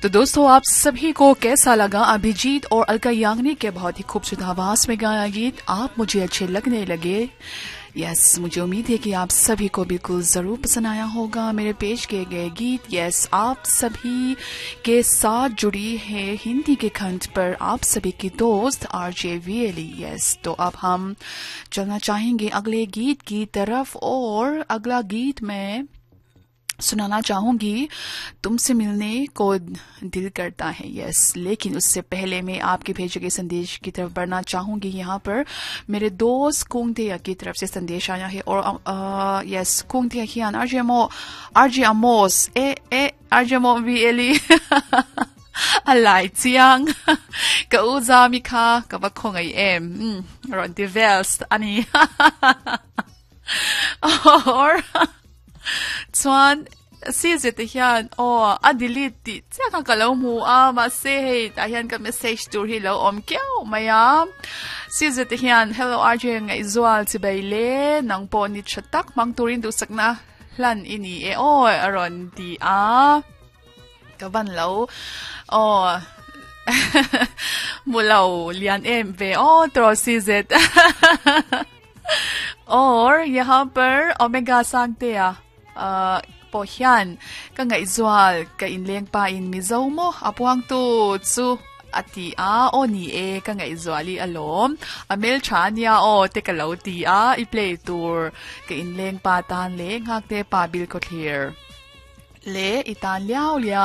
तो दोस्तों, आप सभी को कैसा लगा अभिजीत और अलका याग्निक के बहुत ही खूबसूरत आवाज में गाया गीत आप मुझे अच्छे लगने लगे? यस, मुझे उम्मीद है कि आप सभी को बिल्कुल जरूर पसंद आया होगा मेरे पेश किए गए गीत। यस, आप सभी के साथ जुड़ी है हिंदी के खंड पर आप सभी की दोस्त आरजे वीएली। यस, तो अब हम चलना चाहेंगे अगले गीत की तरफ और अगला गीत मैं सुनाना चाहूंगी, तुमसे मिलने को दिल करता है। यस, लेकिन उससे पहले मैं आपके भेजे गए संदेश की तरफ बढ़ना चाहूंगी। यहाँ पर मेरे दोस्त कुंगतिया की तरफ से संदेश आया है और यस, कुंगतिया हियान आरजे मो आरजे अमोस ए ए आरजे मो वी एली alai chiang ka u za mi kha ka va khongai em ron ti vels ani or chuan si zet te hian aw a delete tih chiah kha ka lo hmu a, mahse hei tah hian ka message tur hi lo awm kiau mai a. Si zet te hian hello RJ Ngaihzual chibai le nang pawh ni tha tak hmang turin duhsakna hlan i ni e aw a rawn ti a. Ka van lo aw hmu lo lian em ve aw tawh si zet. Or yahan par Omega Sangtea pawh hian ka ngaihzual ka inleng pa in Mizo maw a puangtu chu a ti a, aw ni e ka ngaihzual i alawm a hmeltha ania aw te ka lo ti a, i play tur ka inleng pa tan leh nghakte pa bil khawthlir leh i tan liau liau.